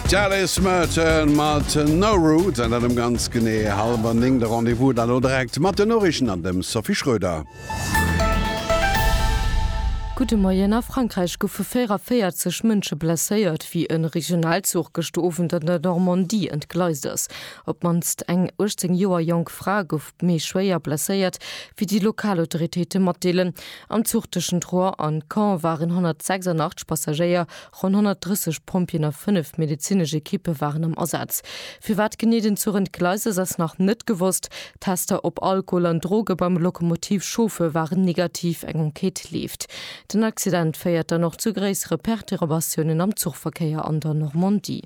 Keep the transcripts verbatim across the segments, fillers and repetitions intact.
D'Alice Merton mat No Roots an dat um ganz genee hallwer néng. De Rendez-vous dann elo direkt mat den Noriichten an dem Sophie Schröder. Gudde Moien. A Frankräich goufe véierundanéierzeg Mënsche blesséiert, wéi e Regionalzuch gëschter Owend an der Normandie entgleist ass. Op d'mannst eng uechtzéng Joer jonk Fra gouf méi schwéier blesséiert, wéi déi lokal Autoritéite matdeelen. Am Zuch tëschent Rouen an Caen waren honnertsechsundachtzeg Passagéier, ronn honnertdrësseg Pompjeeën a fënnef medezinesch Ekippe waren am Asaz. Firwat genee den Zuch entgleist ass, ass nach net gewosst. Tester op Alkohol an Droge beim Lokomotivchauffeur waren negativ, eng Enquête leeft. Den Accident féiert dann och zu gréissere Perturbatiounen am Zuchverkéier an der Normandie.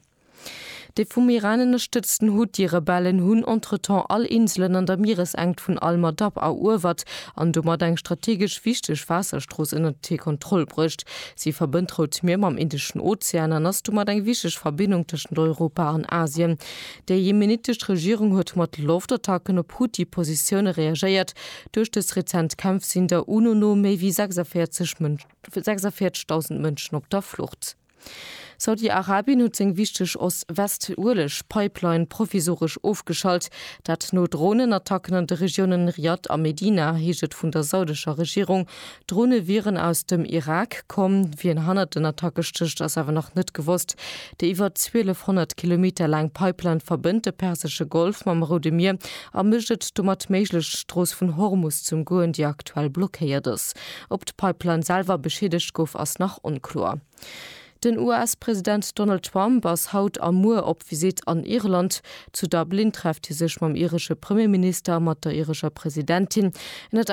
Déi vum Iran ënnerstëtzten Huthi-Rebellen hunn entretemps all Inselen an der Mieresenkt vun Al-Madab eruewert an domat eng strategesch wichteg Waasserstrooss ënnert hir Kontroll bruecht. Si verbënnt d'Rout Mier mam Indeschen Ozean an ass domat eng wichteg Verbindung tëschent Europa an Asien. Déi jemenitesch Regierung huet mat Loftattacken op Huthi-Positioune reagéiert. Duerch dës rezent Kämpf sinn der UNO no méi wéi sechsundvéierzegdausend Mënschen op der Flucht. Saudi-Arabien huet seng wichteg Ost-West-Ueleg-Pipeline provisoresch ofgeschalt. Dat no Dronenattacken an de Regiounen Riad a Medina, heescht et vun der saudescher Regierung. D'Drone wieren aus dem Irak komm. Wien hannert den Attacke stécht, ass awer nach net gewosst. Déi iwwer zwielefhonnert Kilometer laang Pipeline verbënnt de Persesche Golf mam Roude Mier a mécht et domat méiglech, d'Strooss vun Hormus ze ëmgoen, déi aktuell blockéiert ass. Ob d'Pipeline selwer beschiedegt gouf, ass nach onkloer. Den U S-President Donald Trump ass haut a muer op Visitt an Irland. Zu Dublin trefft hie sech mam iresche Premierminister a mat der irescher Presidentin. Ënnert